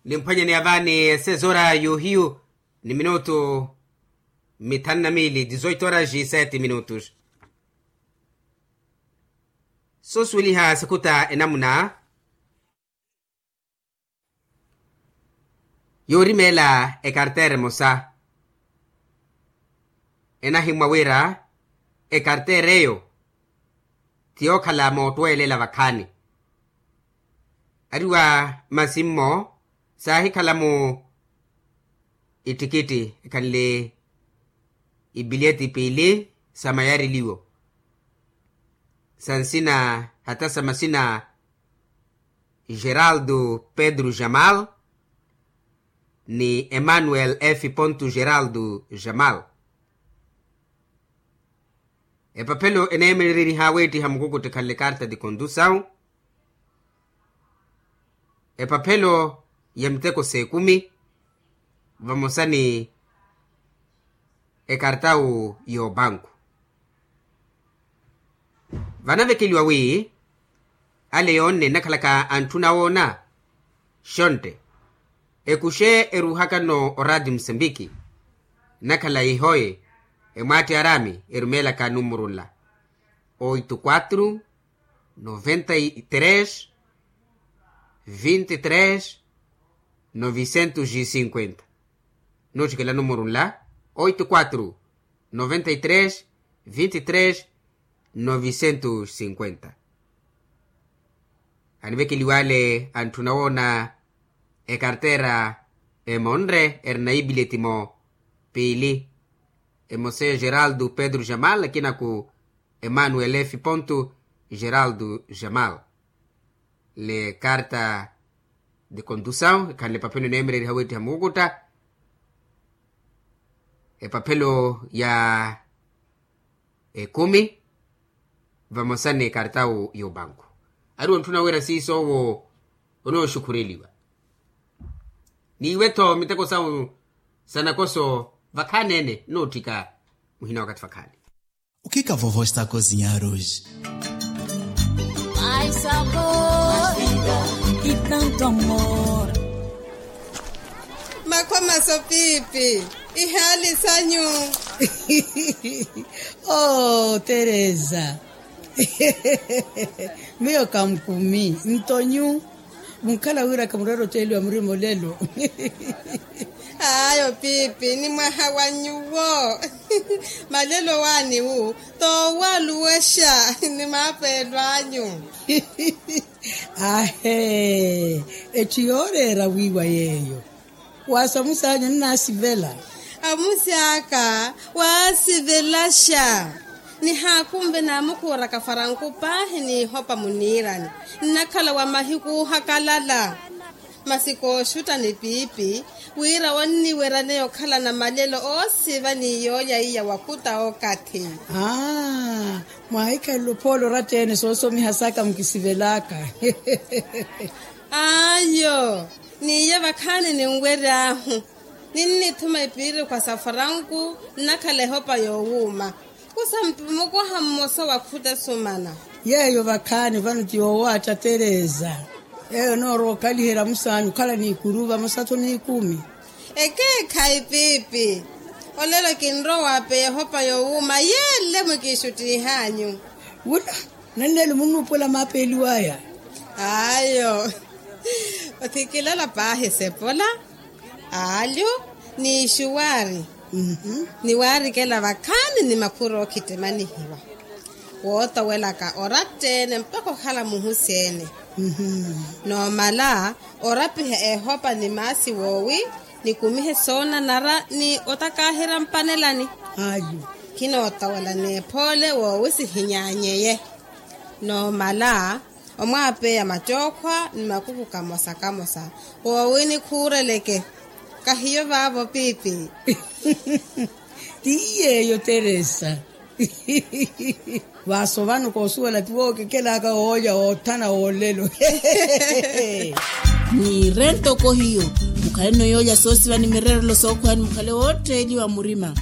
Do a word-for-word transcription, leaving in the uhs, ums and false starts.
Nimphwanyani avaani esezora yohiyu ni minutu mithanu na miili dizoito oraji seti minutus. Sosuweliha sikhuta enamuna yoorimeela ekarteera emosa. Enahimmwa wira ekarteera eyo ti yookhala moottweelela vakhaani. Ariwa masi mmo saahikhala mu ittikitti ekhanle ipilyeti piili sa mayariliwo sa nsina hata sa masina geraldo pedro jamal ni emmanuel f ponto geraldo jamal. Epaphelo eneemereriha weettiha mukukutti ekhanle karta de condusaw. Epaphelo ya miteko s'ekumi vamosa ni ekartawu y'opanku. Vanavekeliwa wi ale yoonne nnakhalaka antthuna woona xontte ekuxe eruuhakano oraati musambiki nnakhala ihoye emwaatti araami erumeelaka numuru nla oito quatro noventa y tres vinte y tres novicentos y cinquenta. Nootthikela numuru nla oito quatro noventa y tres vinte y tres novicentos y cinquenta. Anivekeliwale antthuna woona ekarteera emonre erina ipilyeti mo piili emosa egeraldo pedro jamal akinaku emmanuel f ponto geraldo jamal. Le karta de condusaw ekhanle epaphelo eneemereriha weettiha mukukuttha epaphelo ya ekumi vamosa ni ekartawu y'opanku. Ariwo ntthuna wira siiso owo onooxukhureliwa n'iwe-tho miteko sawu sa nakoso vakhaani-ene nootthika muhina wakathi vakhaani. O que que a vovó está a cozinhar hoje? Ai sabor e tanto amor. Makhwa maso pipi ihaali sanyu. Oh teresa, miyo kamkumi ntonyu. Munkhala wira khamurera oteeliwa murima olelo. Ayo pipi ni mwaha wa nyuwo. Malelo waani wu toowaluwexa ni maapeelo anyu. Ahe, etthu yooreera wiiwa yeeyo. Waasamusi anyu nnaasivela. Amusi aka waasivelaxa. Nihaakunve naamukhuuraka faranku paahi n'ihopa muniirani nnakhala wa mahiku oohakalala. Masi kooxutta ni piipi wira onniweryaneya okhalana malelo oosiva ni yoolya iya wakhuta okathi. Aa, mwaahikhalele ophoole oratta-ene soosomiha saka mukisivelaka. Ayo, n'iya vakhaani ninwery'ahu. Ninnithuma epiirikhwa sa faranku nnakhala ehopa yoowuuma. Kusa mpi mukoha mmosa wa khuta esumana. Yeeyo vakhaani vano ti yoowaatta teresa. Yeeyo noorowa okhaliherya musaanyu okhala n'ikuru vamosa-tho n'ikumi. Ekeekhayi piipi. Olelo kinrowa waapeya ehopa yoowuuma yeele mwikiixuttiih'anyu. Wula, nanneelo munnuupuwela maapeeliw'aya. Ayo. Othikilala paahi sepola, aalyu, n'ixuwaari, niwaarikela vakhaani ni makhuro ookhittimihiwa wootowelaka oratta-ene mpakha okhala muhusi-ene. Noomala orapiha ehopa ni maasi woowi nikumihe soonanara ni otakaaherya mpanelani. Ayu, khinootowela n'ephoole woowi sihinyaanyeye. Noomala omwaapeya mattookhwa ni makuku kamosa kamosa woowi nikhuureleke. Kahiyo vaavo piipi. Ti yeeyo teresa. Vaaso vano koosuwela ti wookekelaka oolya oothana woolelo. Niire ntoko hiyo, mukhaleno yoolya soosiva ni mirerelo sookhwani mukhale wootteeliwa murima.